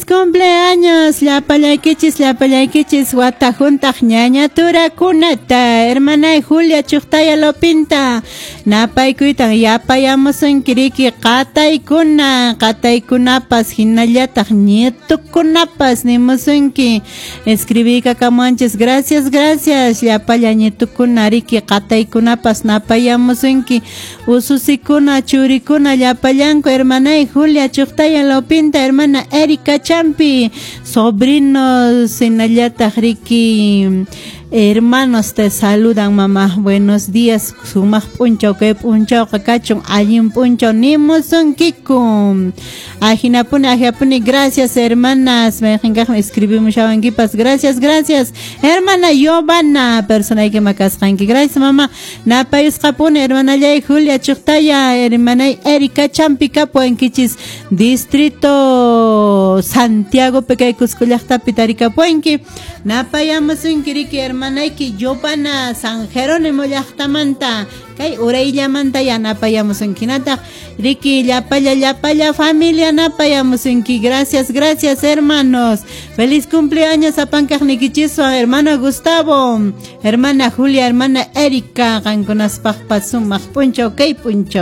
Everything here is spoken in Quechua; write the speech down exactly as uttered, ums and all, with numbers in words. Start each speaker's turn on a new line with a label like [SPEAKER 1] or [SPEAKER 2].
[SPEAKER 1] Feliz cumpleaños, llapallaykichis, llapallaykichis, wata hunt'aq ñaña turakunata, hermana Julia Chuqtaya Lopinta, napaykuytan yapayamusunki riki qataykuna, qataykunapas hinallataq nietukunapas nimusunki, escribiykamuwanchis, gracias, gracias, llapalla nietukuna riki qataykunapas napayamusunki, ususikuna, churikuna, llapallanku, hermanay Julia Chuqtaya Lopinta, hermana Erika Champi, sobrinos, hinallataq riki, hermanos te saludan, mamá. Buenos días, sumaq p'unchaw kay p'unchawqa kachun allin p'unchaw nimusunkiku. Ajinapuni, ajinapuni, gracias, hermanas. Mayqinkaqmi escribimushawankipas. Gracias, gracias. Hermana Giovanna, personayki makasqanki. Gracias, mamá. Napayusqapuni, hermanallay Julia Chuqtaya, hermanay Erika Champi kapuwankichis. Distrito Santiago kay Cusco llaqtapi tarikapuwanki. Napayamusunki riki hermanayki Giovanna San Jerónimo llaqtamanta kay urayllamanta yanapayamusunki nataq riki llapalla llapalla familia napayamusunki. Gracias, gracias, hermanos. Feliz cumpleaños apankaqnikichiswan, hermano Gustavo, hermana Julia, hermana Erika, qankunaspaqpas sumaq p'unchaw kay p'unchaw.